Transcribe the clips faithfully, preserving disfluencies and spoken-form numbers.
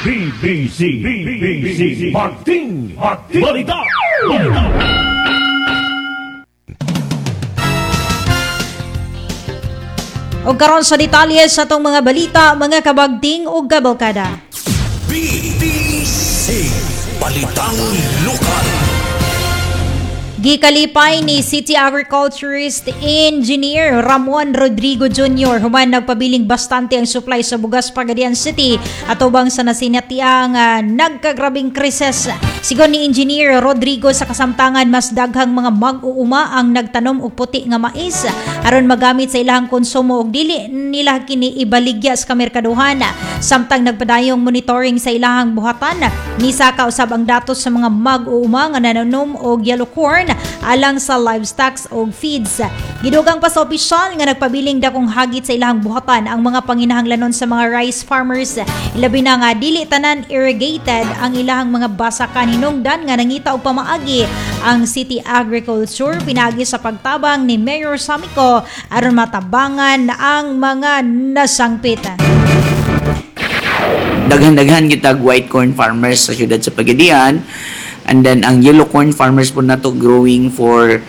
B B C B B C Bagting Balita. Balita. Og karon sa detalye sa atong mga balita, mga kabagting ug kabalkada. B B C Balitang Lokal. Gikalipay ni City Agriculturist Engineer Ramon Rodrigo Junior human nagpabiling bastante ang supply sa bugas Pagadian City atubang sa nasinatiang uh, nagkagrabing krisis. Sigon ni Engineer Rodrigo, sa kasamtangan mas daghang mga mag-uuma ang nagtanom og puti nga mais aron magamit sa ilahang konsumo ug dili nila kini ibaligya sa kamerkaduhan. Samtang nagpadayong monitoring sa ilahang buhatan, nisaka usab ang datos sa mga mag-uuma nga nananom og yellow corn alang sa livestock og feeds. Gidugang pa sa opisyal nga nagpabiling dakong hagit sa ilahang buhatan ang mga panginahanglanon sa mga rice farmers. Ilabi na nga dili tanan irrigated ang ilahang mga basakan, hinungdan nga nangita og pamaagi ang City Agriculture pinagi sa pagtabang ni Mayor Samico aron matabangan ang mga nasangpit. Daghan-daghan kitag white corn farmers sa siyudad sa Pagadian, and then ang yellow corn farmers po nato growing for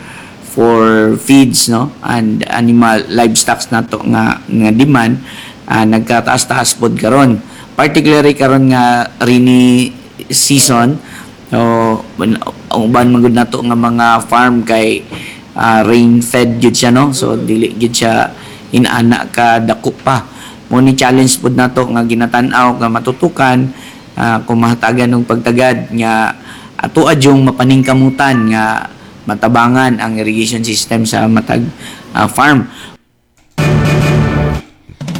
for feeds, no, and animal livestock nato nga nga demand uh, nagkataas-taas pod karon, particularly karon nga rainy season. So ang uban man gud nato nga mga farm kay uh, rain fed gyud siya, no? So dili gyud siya inana ka dako pa. Mo ni challenge pod nato nga ginatan-aw nga matutukan uh, kung mahatagan og pagtagad nga ato adyong mapaningkamutan nga matabangan ang irrigation system sa matag uh, farm.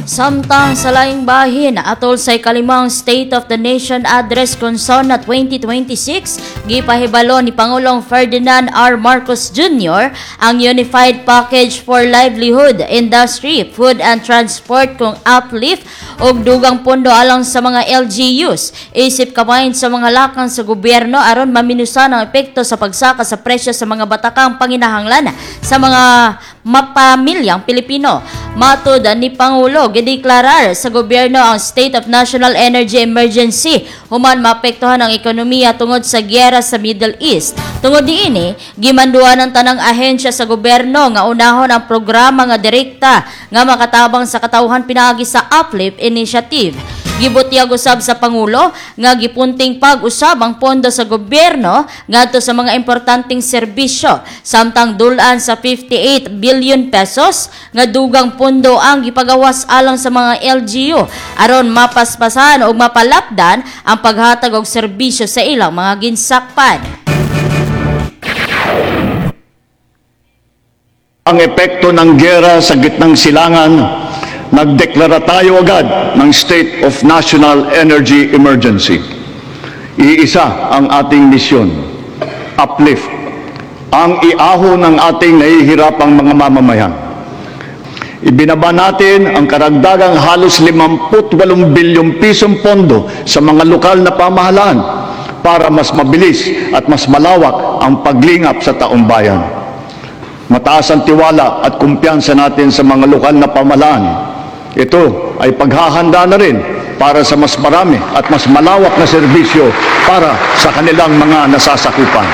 Samtang sa laing bahin, atol sa ikalimang State of the Nation Address kon SONA twenty twenty-six, gipahibalo ni Pangulong Ferdinand R. Marcos Junior ang Unified Package for Livelihood, Industry, Food and Transport kung uplift og dugang pondo alang sa mga L G Us. Isip kabahin sa mga lakang sa gobyerno aron maminusan ang epekto sa pagsaka sa presyo sa mga batakang panginahanglan sa mga mapamilyang Pilipino. Matod ni Pangulo, gideklarar sa gobyerno ang State of National Energy Emergency human maapektuhan ang ekonomiya tungod sa giyera sa Middle East. Tungod niini, gimanduan ang tanang ahensya sa gobyerno nga unahon ang programa nga direkta nga makatabang sa katawhan pinaagi sa Uplift Initiative. Gibutyag usab sa Pangulo nga gipunting pag-usab ang pondo sa gobyerno ngadto sa mga importanteng serbisyo, samtang dulan sa fifty-eight billion pesos nga dugang pondo ang gipagawas alang sa mga L G U aron mapaspasan ug mapalapdan ang paghatag og serbisyo sa ilang mga ginsakpan. Ang epekto ng gera sa Gitnang Silangan, nagdeklara tayo agad ng State of National Energy Emergency. Iisa ang ating misyon, uplift ang iahon ng ating nahihirapang mga mamamayan. Ibinaba natin ang karagdagang halos limampu't walong bilyong pisong pondo sa mga lokal na pamahalaan para mas mabilis at mas malawak ang paglingap sa taong bayan. Mataas ang tiwala at kumpiyansa natin sa mga lokal na pamahalaan. Ito ay paghahanda na rin para sa mas marami at mas malawak na serbisyo para sa kanilang mga nasasakupan.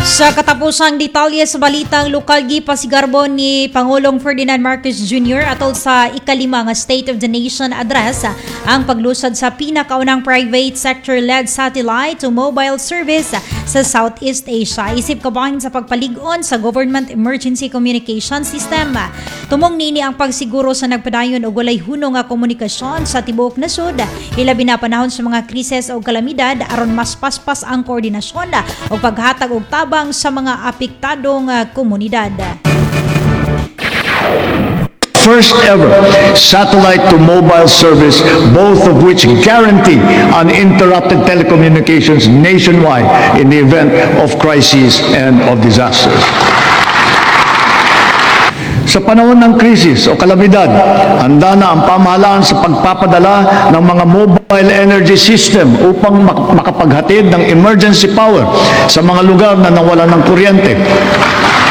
Sa katapusang detalye sa balitang lokal, gipasigarbo ni Pangulong Ferdinand Marcos Junior atol sa ikalima nga State of the Nation Address ang paglusad sa pinakaunang private sector-led satellite to mobile service sa Southeast Asia. Isip kabahin sa pagpalig-on sa Government Emergency Communication System. Tumong nini ang pagsiguro sa nagpadayon og walay hunong nga komunikasyon sa tibuok nasod, hilabi na panahon sa mga krisis o kalamidad, aron mas paspas ang koordinasyon o paghatag og tabang sa mga apektadong ah, komunidad. First ever satellite to mobile service, both of which guarantee uninterrupted telecommunications nationwide in the event of crises and of disasters. Sa panahon ng krisis o kalamidad, handa na ang pamahalaan sa pagpapadala ng mga mobile energy system upang mak- makapaghatid ng emergency power sa mga lugar na nawalan ng kuryente.